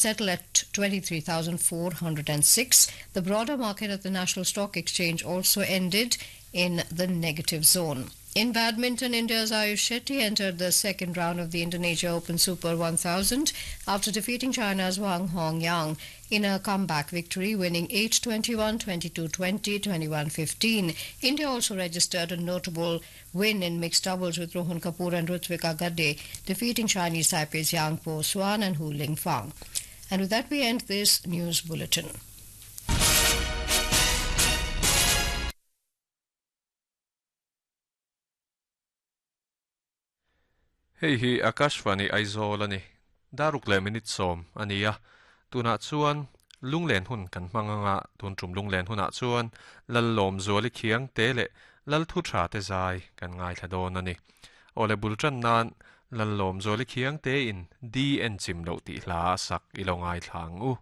Settle at 23,406. The broader market at the National Stock Exchange also ended in the negative zone. In badminton, India's Ayush Shetty entered the second round of the Indonesia Open Super 1000 after defeating China's Wang Hongyang in a comeback victory, winning 8-21, 22-20, 21-15. India also registered a notable win in mixed doubles with Rohan Kapoor and Rutvika Gadde defeating Chinese Taipei's Yang Po Swan and Hu Lingfang. And with that, we end this news bulletin. Hei hi Akashvani Aizawl a ni. Daruk leh minute sawm a ni a. Tunah chuan lunglen hun kan hmang anga tun tum lunglen hunah chuan Lallawmzuali khiang te leh Lalthu tha te zai kan ngaithla dawn a ni. Awle bul tan nan Lallawmzuali khiang te in di en chim loh tih hla a sak i lo ngaithla ang u.